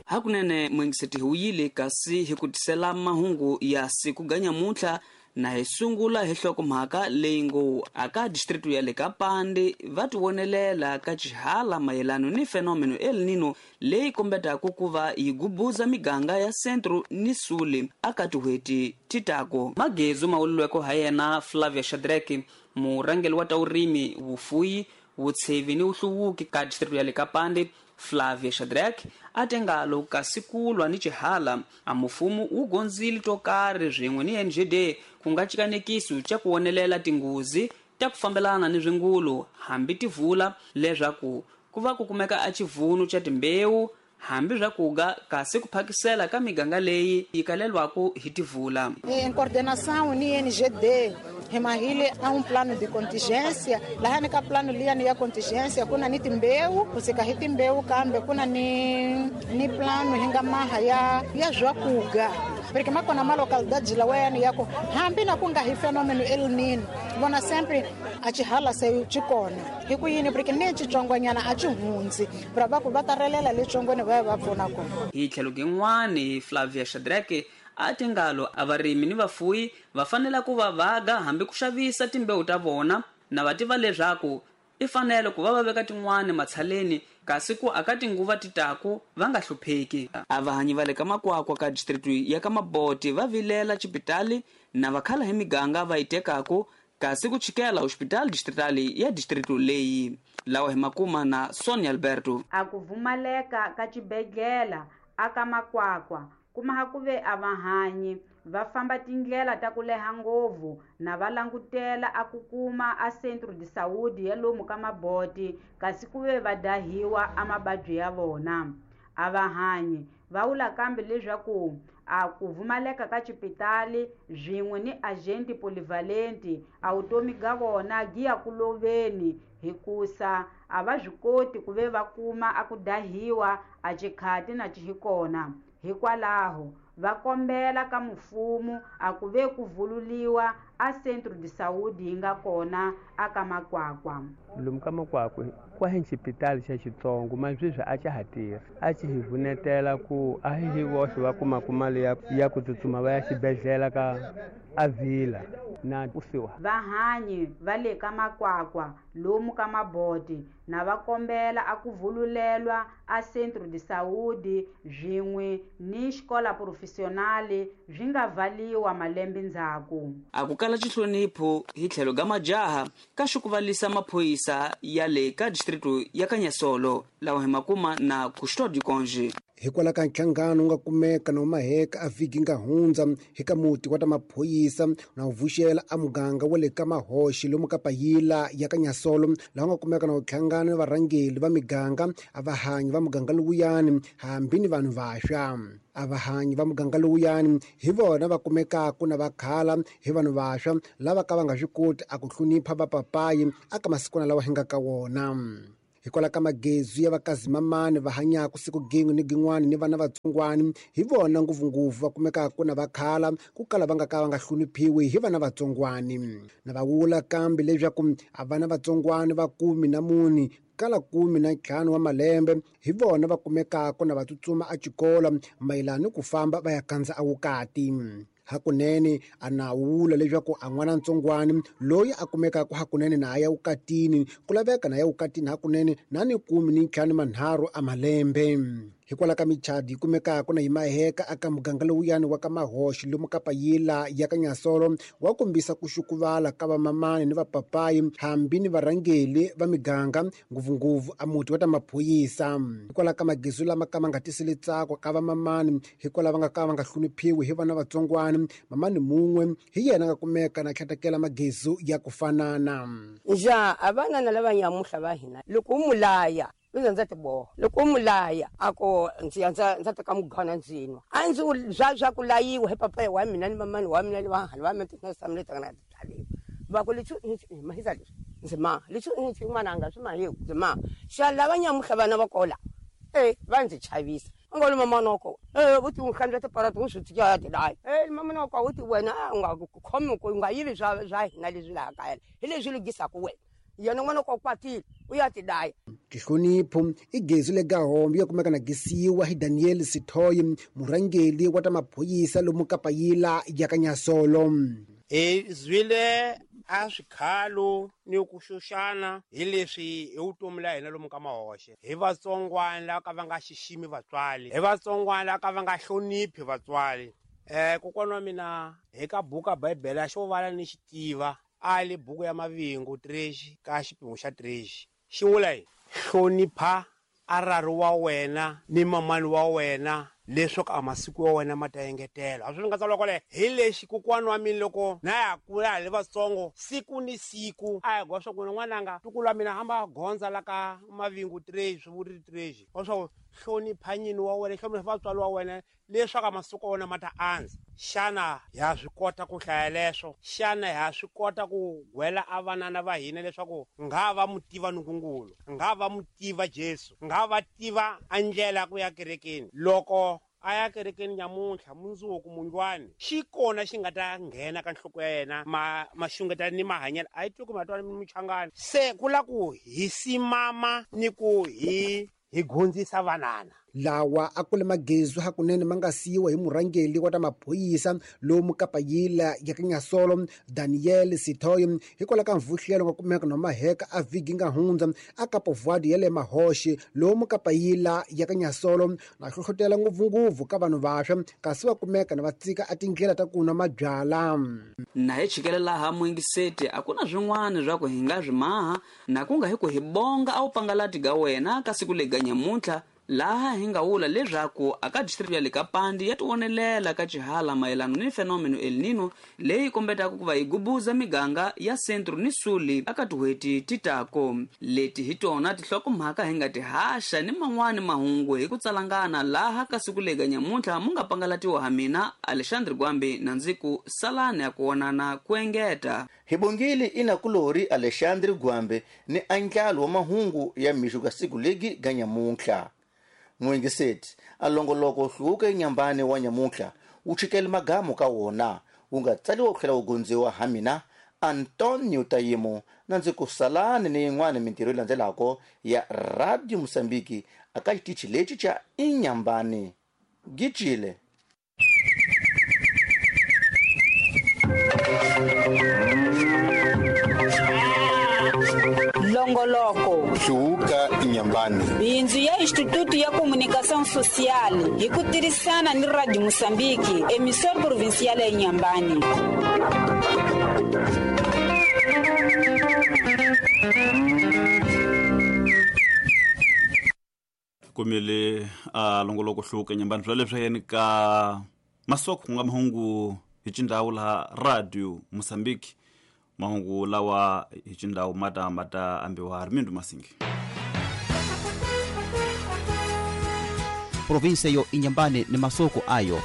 Hakunene mwingiseti hi wuyile kasi hi ku tisela mahungu ya siku ganyamuntlha na hi sungula hi hlokomhaka leyi ngo aka district ya le ka Pande va tivonelela ka xihala mayelano ni fenomeno El Nino leyi kombetaka ku va yi gubuza miganga ya Centro ni Sule aka tin'hweti ti tako. Magezu mawululweko ha yena Flavia Shadrack, murhangeri wa ta vurimi, vufuyi, vutshevi ni vuhluvuki ka district ya le ka Pande. Flavia Shadrack a te ngalo kasi ku lwa ni xihala a mufumo wu gondzile to karhi swin'we ni NGD ku nga cikanekiso xa ku wonelela tinghozi ta ku fambelana ni swingulu hambi ti vula leswaku ku va ku kumeka a xivunu xa timbewu hambi swa kuga kasi ku phakisela ka miganga leyi yi kalelwaku hi tivula. Em coordenação ni NGD hi mahile a um plano de contingência laha ni ka plano liyani ya contingência ku na ni timbewu kusika hi timbewu kambe ku na ni plano hi nga maha ya swakuga porque makona ma localidade lawayani ya ku hambi na ku nga hi fenômeno El Nino vona sempre a xihala se xi kona hi ku yini porque ni xitsongwanyana a xi hundzi pra va ku va ta relela letsongweni va ya va pfuna kona. Hi tlhelo rin'wani Flavia Shadrack a ti ngalo a varimi ni vafuyi va fanele ku va vaga hambi ku xavisa timbewu ta vona na va tiva leswaku i fanele ku va va veka tin'wani matshaleni kasi ku aka tinguva ti taku va nga hlupheki. A vahanyi va le ka Makwakwa ka district ya ka Maboti va vilela xipitali na vakhala hi miganga va yi tekaku kasi ku chikela hospital distrital ya district leyi. Lawa hi makuma na Sonia Alberto. A ku vumaleka ka xibedhlele aka Makwakwa kuma ku ve a vahanyi va famba tindlela ta ku leha ngopfu na va langutela a ku kuma a Centro de Saúde ya lomu ka Maboti kasi ku ve va dahiwa a mababyi ya vona. A vahanyi va vula kambe leswaku a ku vumaleka ka xipitali swin'we ni agente polyvalente a vutomi bya vona byi ya ku loveni hikusa a va swi koti ku ve va kuma a ku dahiwa a xikhati na xihikona. Hikwalaho va kombela ka mfumo a ku ve ku vululiwa a Centro de Saúde yi nga kona aka Makwakwa. Lomu ka Makwakwa kwa hi xipitali xa Xitsongo ma sweswi a xa ha tirhi a xi hi vunetela ku a hi voxe va kumaka mali ya ku tsutsuma va ya xibedhlele ka Avila na kusuhi. Vahanyi va le ka Makwakwa lomu ka Maboti na va kombela a ku vululelwa a Centro de Saúde swin'we ni xikola professional swi nga valiwa malembe ndzhaku. A ku kala xihlonipho hi tlhelo ga majaha ka xikuvalisa maphorisa ya le ka district ya Kanyasolo lawa hi makuma na Custódio Conge. Hikwalaho ka nhlangano wu nga kumeka na maheka a vhiki nga hundza hi ka muti wa ta maphorisa na wu vuxela a muganga wa le ka Mahoxi lomu ka Payila ya Kanyasolo laha nga kumeka na wu hlangana ni varhangeri va miganga a vahanyi va muganga lowuyani hambi ni vanhu vaxwa. A vahanyi va muganga lowuyani hi vona va kumekaka na vakhala hi vanhu vaxwa lava ka va nga swi koti a ku hlonipha vapapayi aka masikwana lawa hi nga ka wona. Hikwalaho ka magezu ya vakazimamani va hanyaka siku gin'we ni gin'wani ni vana vatsongwani hi vona ngopfungopfu va kumekaka na vakhala ku kala va nga ka va nga hloniphiwi hi vana vatsongwani. Na va vula kambe leswaku a vana vatsongwani va 14 kala 15 wa malembe hi vona va kumekaka na va tsutsuma a xikolo mayelana ni ku famba va ya kandza a vukati. Hakunene a na wula leswaku a n'wana ntsongwani loyi a kumekaka hakunene na ya vukatini ku laveka na ya vukatini hakunene na ni 13 a malembe. Hikwalaho ka michadi yi kumekaka na yi maheka aka muganga lowuyani wa ka Mahoxi lomu ka Payila ya Kanyasolo wa kombisa ku xukuvala ka vamamani ni vapapayi hambi ni varhangeri va miganga ngopfungopfu a muti wa ta maphorisa. Hikwalaho ka magezu lama ka ma nga tiseli ntsako ka vamamani hikwalaho va nga ka va nga hloniphiwi hi vana vatsongwani mamani mun'we hi yena nga kumeka na tlhatekela magezu ya ku fanana. Nja a vana na lava nyamuhla va hina loko u mulaya ndza tiboha loko u mulaya a ku ndzi ya ndza teka mugana ndzi nwa a ndzi bya ku layiwa hi papa wa mina ni mamani wa mina ni vanghana va mina tinsamle ta nga byaliwa va ku leswi mahisa leswi ndzi ma leswi ndzi n'wana nga swi mahiku ndzi ma xa lava nyamuhla vana va kola va ndzi chavisa u nga mamana wa kona u ti hlantswa tiparati u swi tika ti layi mamana wa kona u ti wena u nga khomi ku u nga yivi swa hina leswi laha kaya hi leswi lunghisaka wena. Yena n'wana ko kwatile u ya tidaya. Nhlonipho i gezi le gahombe ya kumeka na gisiwa hi Daniel Sithoyi, murhangeri wa ta maphorisa lomu Kapayila ya ka Nyasolo. Hi zwile a swikhalo ni ku xuxana hi leswi hi vutomi la hina lomu ka mahoxe. Hi vatsongwana lava ka va nga xiximi vatswari, hi vatsongwana lava ka va nga hloniphi vatswari. Kokwana wa mina hi ka buku ya Bibele xo vala ni xitiva a le buku ya Mavingo 3 ka xipimo xa 3 xi vula yi hlonipha arari wa wena ni mamani wa wena leswaku a masiku ya wena ma ta engetela. A swi nga tsariwa kwale hi lexi kokwana wa mina loko na ya kula hi le vatsongo siku ni siku a hi gwa swa ku n'wananga tukulu wa mina hamba gondza la ka Mavingo 3 swi vuri 3 wa swa hlonipha nyini wa wena, hlonipha vatswari wa wena leswaku a masiku ya wena ma ta andza. Xana ha swi kota ku hlaya leswo? Xana ha swi kota ku gwela a vanana va hina leswaku nga va mutiva Nkulunkulu, nga va mutiva Jesu, nga va tiva a ndlela ku ya kerekeni? Loko a ya kerekeni nyamuntlha mundzuku mundlwani xi kona xi nga ta nghena ka nhloko ya yena maxungeta ni mahanyelo a yi twi ku matwana muchangani. Se ku la ku hi simama ni ku hi gondzisa vanana. Lawa a kule magezu hakunene ma nga siyiwa hi murhangeri wa ta maphorisa lomu Kapayila ya ka Nyasolo Daniel Sithoyi hikwalaho ka mvuhlelo nga kumeka na maheka a vhiki nga hundza a Kapovuadi ya le Mahoxe lomu Kapayila ya ka Nyasolo na hlohlotela ngopfungopfu ka vanhu vantshwa kasi va kumeka na va tsika a tindlela ta ku nwa mabyala. Na hi chikele laha muingiseti a ku na swin'wana swa ku hi nga swi maha na ku nga hi ku hi bonga a wu pangalati ga wena ka siku lega nyamuntlha laha hi nga vula leswaku aka district ya le Kapandi ya tivonelela ka xihala mayelana ni fenomeno El Nino leyi kombetaka ku va yi gubuza miganga ya Centro ni Suli aka tin'hweti ti tako. Leti hi tona tinhlokomhaka hi nga ti haxa ni man'wani mahungu hi ku tsalangana laha ka siku lega nyamuntlha mu nga pangalatiwa ha mina Alexandre Gwambi na ndzi ku salani ya ku vonana ku engeta. Hi bongile inakulori Alexandre Gwambi ni andlalo wa mahungu ya mixo ka siku legi ga nyamuntlha. Muingiseti a longoloko hluvuka enyambani wa nyamuntlha wu chikele magamu ka wona wu nga tsaliwa ku tlhela wu gondziwa ha mina Antonio Tayimo na ndzi ku salani ni yin'wana mintirho yi landzelako ya Radio Mosambiki aka xitichi lexi xa Inyambani. Gicile. Longoloko Hluvuka Inyambani, bindzu ya Instituto ya Comunicação Social hi ku tirhisana ni Radio Mosambiki, emissora provincial ya Inyambani. Kumele a longoloko Hluvuka Inyambani swa leswi yena ka masoko ku nga mahungu hi xindhawu laha Radio Mosambiki. Mahungu lawa hi xindhawu mata mata ambiwa Armindo Masingi. Provinsia yo Inyambani ni masoko ayo.